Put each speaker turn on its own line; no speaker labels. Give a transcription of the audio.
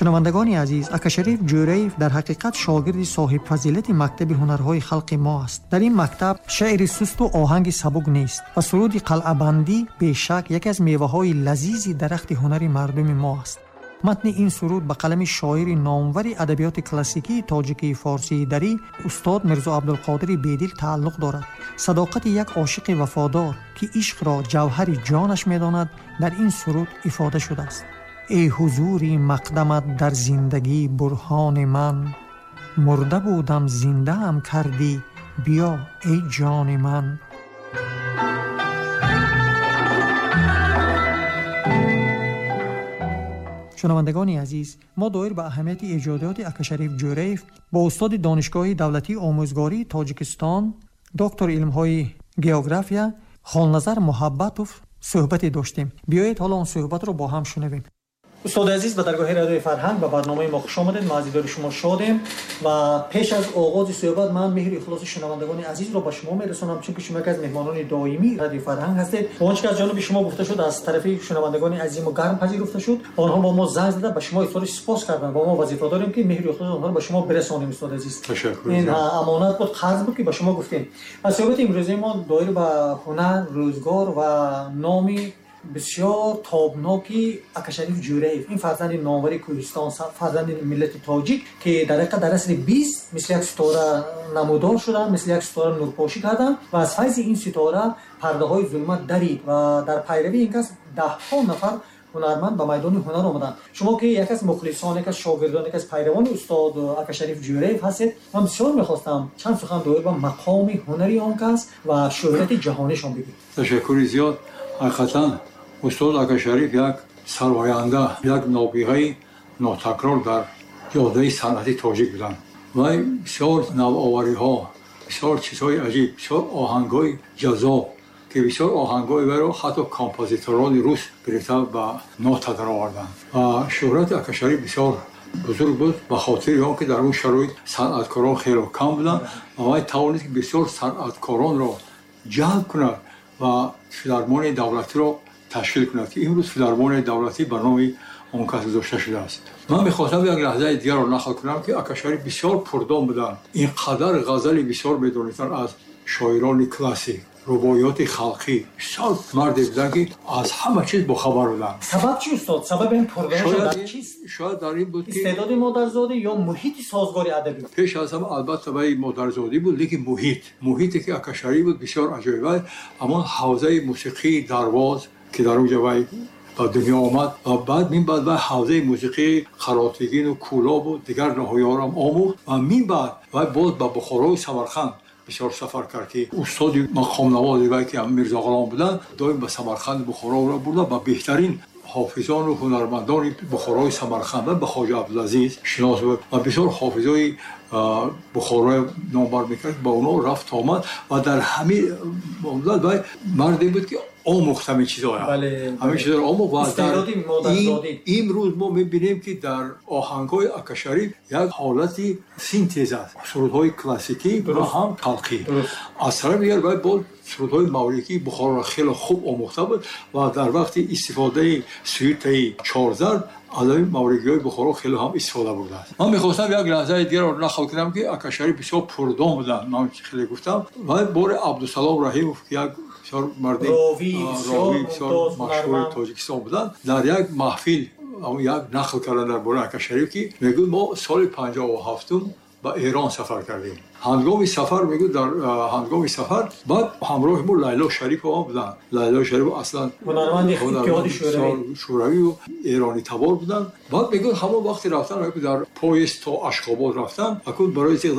Шунавандагони азиз, Акашариф Ҷӯраев дар ҳақиқат шогирди соҳибфазилати мактаби ҳунарҳои халқи мо аст. Дар ин мактаб шеъри сусту оҳанги сабук нест ва суруди қалъабандӣ бешак яке аз меваҳои лазизи дарахти ҳунари мардуми мо аст. Матни ин суруд ба қалами шоири номвари адабиёти классикии тоҷикии форсии дарӣ устод Мирзо Абдулқодири Бедил тааллуқ дорад. Садоқати як ошиқи вафодор, ки ишқро ҷавҳари ҷонаш медонад, дар ин суруд ифода шудааст. Эй ҳузури мақдамат дар зиндагӣ бурҳони ман, мурда будам зиндаам кардӣ, биё эй ҷони ман. Шунавандагони азиз, мо доир ба аҳамияти эҷодиёти Акашариф Ҷӯраев бо устоди Донишгоҳи давлатии омӯзгории Тоҷикистон, доктори илмҳои география Хонназар Муҳаббатов суҳбате доштем. Биёед ҳоло он суҳбатро бо ҳам шунавем. Устоди азиз, ба даргоҳи радиои фарҳанг ба барномаи мо хуш омадед. Мо аз дидори шумо шодем ва пеш аз оғози суҳбат ман меҳри ихлоси шунавандагони азизро ба шумо мерасонам, чунки шумо яке аз меҳмонони доимии радиои фарҳанг ҳастед. Он чи ки аз ҷониби шумо гуфта шуд, аз тарафи шунавандагони азизи мо гарм пазируфта шуд. Онҳо бо мо занг зада ба шумо изҳори сипос карданд ва мо вазифа дорем, ки меҳри ихлоси онҳоро ба шумо бирасонем. Устоди азиз,
ташаккур.
Ин амонат буд, қарз буд, ки ба шумо гуфтем. Ва суҳбати имрӯзаи мо доир ба ҳунар, рӯзгор ва номи бисёр тобноки Акашариф Ҷӯраев, ин фарзанди номвари Кӯҳистон, фарзанди миллати тоҷик, ки дар ҳақиқат дар асри 20 мисли як ситора намудор шуданд, мисли як ситора нурпошӣ карданд ва аз файзи ин ситора пардаҳои зулмат дарид ва дар пайравии ин кас даҳҳо нафар ҳунарманд ба майдони ҳунар омаданд. Шумо ки яке аз мухлисон, яке аз шогирдон, яке аз пайравони устод Акашариф Ҷӯраев ҳастед, ман бисёр мехостам чанд сухан доир ба мақоми ҳунари он кас ва шӯҳрати ҷаҳонишон бигӯед.
Ташаккури зиёд. Ҳақиқатан устод Акашариф як сарваянда, як нобиғаи нотакрор дар ҷодаи санъати тоҷик буданд. Вай бисёр навовариҳо, бисёр чизҳои аҷиб, бисёр оҳангҳои ҷаззоб, ки бисёр оҳангҳои вайро ҳатто композиторони рус гирифта ба нота дароварданд. Ва шӯҳрати Акашариф бисёр бузург буд ба хотири он ки дар он шароит санъаткорон хело кам буданд ва вай тавонист, ки бисёр санъаткоронро ҷалб кунад ва филармонияи давлатиро ташкил кунад, ки имрӯз филармонияи давлатӣ ба номи он кас гузошта шудааст. Ман мехостам як лаҳзаи дигарро нақл кунам, ки Акашариф бисёр пурдон буданд, ин қадар ғазали бисёр медонистанд аз шоирони классик, рубоиёти халқӣ. Бисёр марде буданд, ки аз ҳама чиз бохабар буданд.
Сабаб чи, устод? Сабаби ин пурдонашон дар чист?
Шояд дар ин буд, ки
истеъдоди модарзодӣ ё муҳити созгори адабӣ?
Пеш аз ҳама, албатта, вай модарзодӣ буд, лекин муҳите ки Акашариф буд, бисёр аҷоиб. Ҳамон ҳавзаи мусиқии Дарвоз, ки дар онҷо вай ба дунё омад ва баъд мин баъд вай ҳавзаи мусиқии Қаротегину Кӯлобу дигар ноҳияҳоро омӯхт ва мин баъд вай боз ба Бухорою Самарқанд бисёр сафар кард, ки устоди мақомнавози вай, ки Мирзо Ғулом буданд, доим ба Самарқанду Бухороро бурда, ба беҳтарин ҳофизону ҳунармандони Бухорои Самарқанд, ба Хоҷа Абдулазиз шинос буд ва бисёр ҳофизои Бухорои номбар мекард, ба онҳо рафт омад ва дар ҳамин муддат вай марде буд, ки омӯхт ҳамин чизҳоя, ҳамин чизҳоро омӯхт ва имрӯз мо мебинем, ки дар оҳангҳои Акашариф як ҳолати синтез аст, сурудҳои классикӣ ва ҳам халқӣ. Аз тарафи дигар, вай боз сурудҳои маврикии Бухороро хеле хуб омӯхта буд ва дар вақти истифодаи сюитаи чорзарб аз ҳамин маврикиҳои Бухоро хеле ҳам истифода бурдааст. Ман мехостам як лаҳзаи дигарро нақл кунам, ки Акашариф бисёр пурдон буданд. Ман хеле гуфтам, вай бори Абдусалом Раҳимов, ки як бисёр марди ровии бисёр машҳури Тоҷикистон буданд, дар як маҳфил як нақл карданд дар бораи Акашариф, ки мегӯяд, мо соли 57-ум ба Эрон сафар кардем. Ҳангоми сафар, мегӯяд, дар ҳангоми сафар баъд ҳамроҳи мо Лайло Шарипова буданд. Лайло Шарипова аслан
ҳунарманди Иттиҳоди
Шӯравию эронӣ табор буданд. Баъд мегӯяд, ҳамон вақти рафтан, дар поезд то Ашхобод рафтан, акун барои